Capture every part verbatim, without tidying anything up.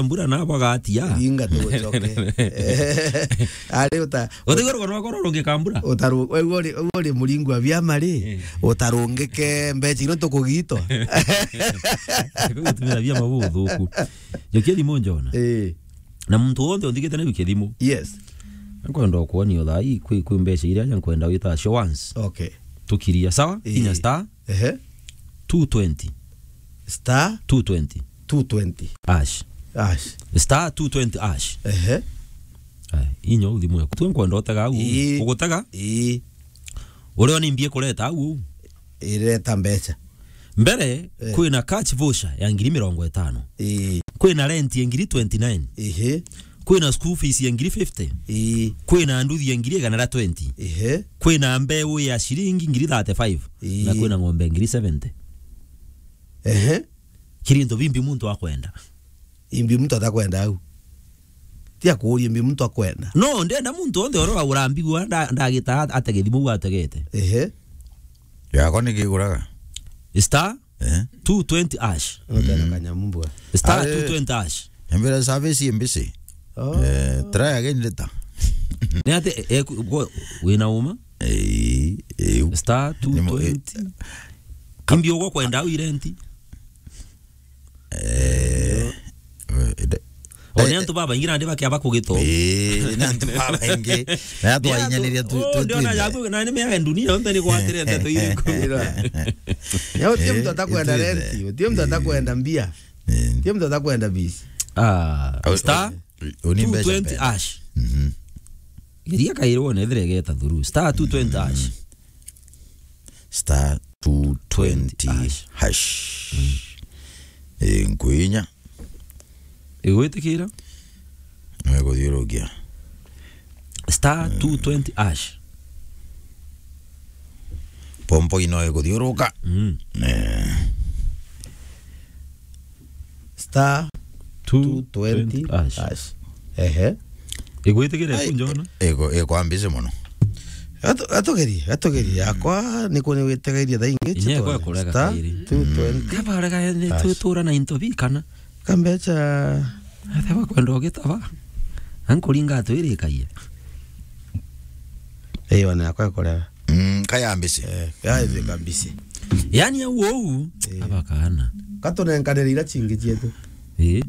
mbura na bwagatia. Ringa tugucoke. Ari uta-, utiguru kono wakoro rungi kambura. Utaru-, wewe uri, wewe uri muringu wa biama ri, eh, utarungike mbeca ino tukugitwa. Gutumira biama buthuku. Jokia thimu njona. Eh. Na muntu wonthe unthikite na wikie thimu. Yes. Nkwenda kuonia thaa ii kwi, kwi mbeca iria aja nkwenda wita show once. Okay. Tukiria, sawa? Ii. Inya star. Ehe. Two twenty. Star? Two twenty. Two twenty. Hash. Hash. Star two twenty hash. Ehe. Aya, inya u thimu yaku. Tu nkwenda utega au. Ii. Ugutega? Ii. Uria ni mbie kureta au. Ireta mbeca. Mbere, eh, kwina cash voucher ya ngiri mirongo itano. Ii. Kwina rent ya ngiri twenty-nine. Ehe. Kwina school fees ya ngiri fifty. Ii. Kwina nduthi ya ngiri igana ria twenty. Ehe. Kwina mbeu ya ciringi ngiri thirty-five. Ii. Na kwina ng'ombe ngiri seventy. Ehe. Kiri into bimbi muntu akwenda. Imbi muntu atakwenda au. Ti akuuria imbi muntu akwenda. No, ndenda muntu onthe uria uragura mbigua nda-, ndagita at-, atege thimu u ategete. Ehe. Yakwa ni kiguraga? Star, eh, two twenty hash. Utena, mm, kanyamu mbua. Star, are, two twenty hash. Mbere service imbisi. Oh. Eh, try again later. Ni ati, eh, ku-, ku-, wina uma? Eh, eh. Star two twenty. Imbi ugwa kwenda au irenti? Eh, eh, de-, o, ni antu babaingi nandi bakiaba kugito. Eh, ni antu babaingi. Na twahinyaniria tu, oh, tu, ndiona twinthe. Yaku, na ni mea dunia yonthe ni gwatire ndeto iri kumira. Ya, utie mtu atakwenda renti, utie mtu atakwenda mbia. Eh. Utie mtu atakwenda bisi. Ah, au, star au, au ni mbeca two twenty mbere. Hash. Mhm. Geria kairi wone ethire igeta through. Star two twenty hash. Star two twenty hash. Hash. Mm. Eh, nkwinya. Igwitikira? No ikuthiurukia. Star two twenty hash. Pompo ino ikuthiuruka. Mm. Eh. Star two twenty hash. Ehe. Igwitikire. Ai, kunjona? Iko, iko ambisi muno. Atu-, atugerie, atugerie. Mm. Yakwa ni kuni witegairie thaa ingi. Inya ikwa kurega kairi. Star two twenty. Mm. Kabarega ni hash. Tutura na into bi kana? Kambecha. Ate bakwenda ugitaba. Ankuringa atwirikaie. Iyo ni yakwa ikurega. Mm, kaya mbisi. Eh, kaya mbisi. Yani au ou, eh, abakana. Katunenkanire ira cingi cietu. Eh.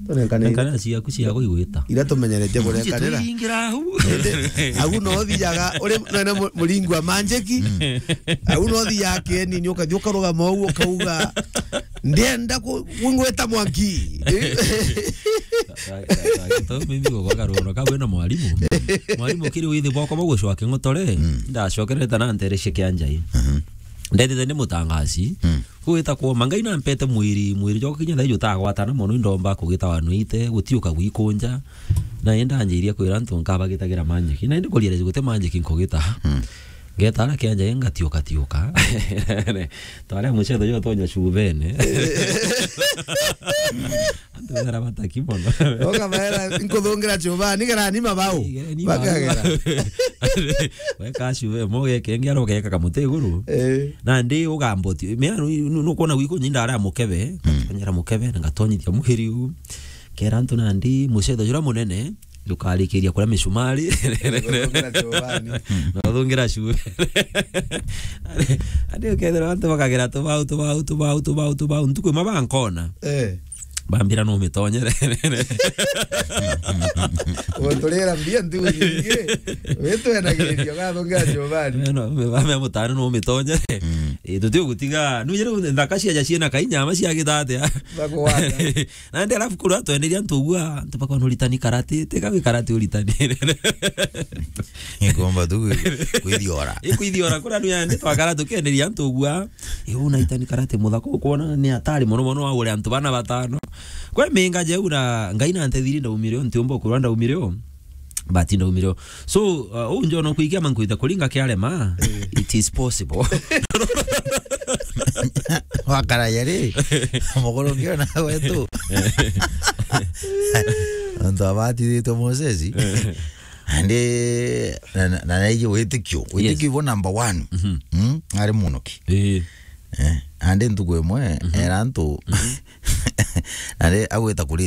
Tunenkanire. Nenkana ciaku ciaku igwita. Ira tumenyeretie kunenkanira. Tuingira au. Indi, au no thiaga, uri, no, no, mu-, muringi wa manjiki. Mm. Au no thiaga kieni, ni ukathi ukarugama ou, ukauga, "Ndienda ku-, kungwita mwanki." Ka-, ka-, ka-, ka-, to mimi go kwa karono, ka wena mwarimu. Mwarimu kiri withi bwako bagucwa king'otore, mm, ndacokerete na nterecia kia njai. Mhm. Ndetete ndi mutangaci. Mm. Gwita kuoma, Ngai nampete mwiri, mwiri jwa kinya thaa iji utagwatana mono, indomba kugita wanwite, gutiuka gwikunja. Na indanjiria kwira antu nkabagitagira manjiki. Na indi kuria guti manjiki nkugita. Mm. Ngeta ara kianja ngatiuka tiuka. Tware mucetho jo tonya cubene. Antu bera bataki mono. Ukabaera, "Nkuthungira chuba, nigera ni mabau." Nigera ni mabau. Bakagera. Weka cube, moge kenge aro geka kamuti iguru. Eh. Na ndi ugamboti. Mea nu, nu, nukwona gwiku nyinda ara mukebe. Mm. Nganyera mukebe, na ngatonyithia muhiri u. Kera antu nandi, mucetho jura munene, ndukarikiria kuria micumari. Uthungira chuba ni. Na uthungira cube. Andi ukethira antu bakagera tubau, tubau, tubau, tubau, tubau. Ntuku imwe bankona. Eh. Bambira no mitonyere. Uturira mbia ntugu nyingi. Witwenagiriria ugathungira chubani. No, me bame mutano no mitonyere. Mm. Eh, tuti gutiga. Nu jere nthaka cia ja ciena kainya ama cia gitatia. Bagwata. Na ndi alafu kuru atwenderia ntu ugua, ntu bakwa no ritani karate, tega wi karate uritani. Ikomba tu kwithiora. Ikwithiora kura nu yandi twakara tukenderia ntu ugua. Iu na itani karate muthaka ukwona ni atari mono mono wa ure antu bana batano. Kwe minga jeu na Ngai na ntethiri ndaumire o, ntiumba ukurwa ndaumire o. But ndaumire o. So, uh, u njona kuikia mankuita kuringa kiarema, eh, it is possible. Wakara yari, muguru ngiona wetu. Antu abatithitwe Moses. Andi na, na, na naiji witikio. Yes. Witikio ibo number one. Mhm. Mm, ari munoki. Eh. Eh, andi ntuku imwe, mhm, era antu, mhm, Na ri, agwita kuri